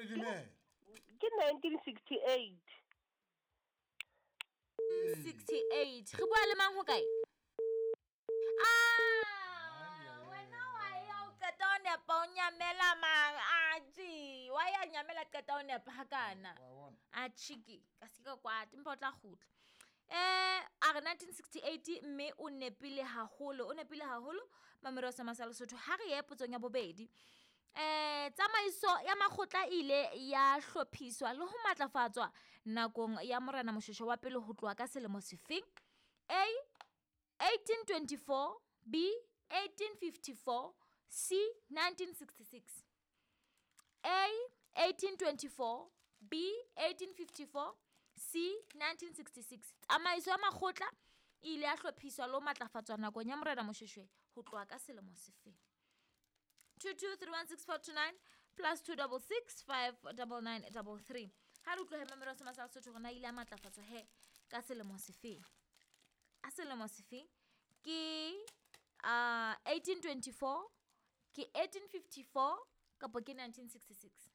Dumela. Ke 1968. 68. Re bua le mang ho kae? Ah, wena wa ya o qeta o nepa o nyamela mang? Atjhe, wa ya nyamela qeta o nepa hakana. Wa bona. Atjhe ke, ka se ka kwata empa o tla kgutla. A re 1968 mme o nepile haholo, o nepile haholo Mamelodi sa Masa Lesotho. Ha re ye potsong ya bobedi. Tsamaiso ya makgotla e ile ya hlophiswa le ho matlafatswa nakong ya Morena Moshoeshoe wa pele ho tloha ka selemo sefeng? A 1824, B 1854, C 1966. A 1824, B 1854, C 1966. Tsamaiso ya makgotla e ile ya hlophiswa le ho matlafatswa nakong ya Morena Moshoeshoe ho tloha ka selemo sefeng? 22316429 plus 266 59933. Ha re utlwe Mamelodi sa Masa Lesotho hore na ile ya matlafatswa he ka selemo sefeng? A selemo sefeng? Ke 1824, ke 1854 kapa ke 1966?